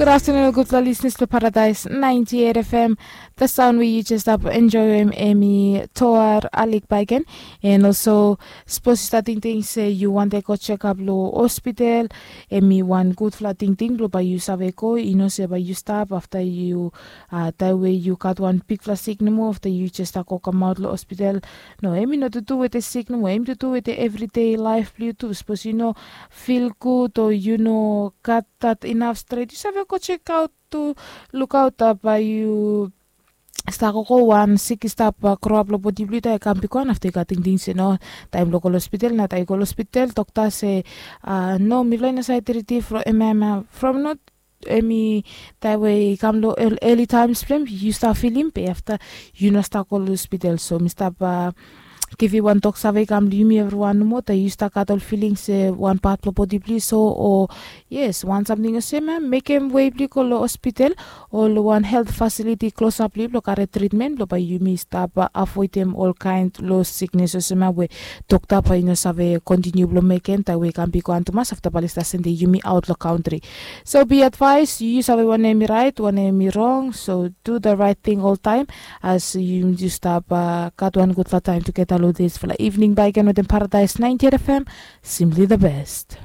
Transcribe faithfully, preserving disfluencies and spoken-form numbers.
Good afternoon, gudfala listeners blong Paradise ninety-eight F M. The sound we you just stap enjoy em, em i Toar Alik Baiken. And also, suppose you start thinking say you want to go check up lo hospital, em i one gudfala thinking blong by you save go. You know say by you stop after you, uh, that way you got one big fala sick no more after you just go come out lo hospital. No, em i not to do with the sick no more. Em to do with the everyday life blong you too. Suppose you know feel good or you know got that enough straight, you save go check out to look out, uh, by you start go go one sick stap, uh, grow up lo body blue tai kam big one after you got tingting say no, time lo go hospital na tai go hospital doctor say, uh, no, mi fly na side treat from em, em, uh, from not em i tai way kam lo early times blame you start feeling pay after you no start go hospital. So mi stap, uh, give you one talk save kam lo yumi everyone no more tai you start got all feeling say one part lo body blue so or yes, wan samting olsem ya mekem wei blong yu go long hospital o long wan helt fasiliti klosap blong yu blong karim tritmen blong bae yumi stap avoidem ol kaen long siknes olsem ya we dokta bae i no save kontiniu blong mekem taem we i kam bigwan tumas afta bae oli stap sendem yumi aot long kantri. So be advaes, yu save wanem i raet wanem i rong, so du the raet ting oltaem as yu stap gat wan gudfala taem tugeta long disfala ivning bae i ken wetem Paradaes naenti eit FM. Simpli the best.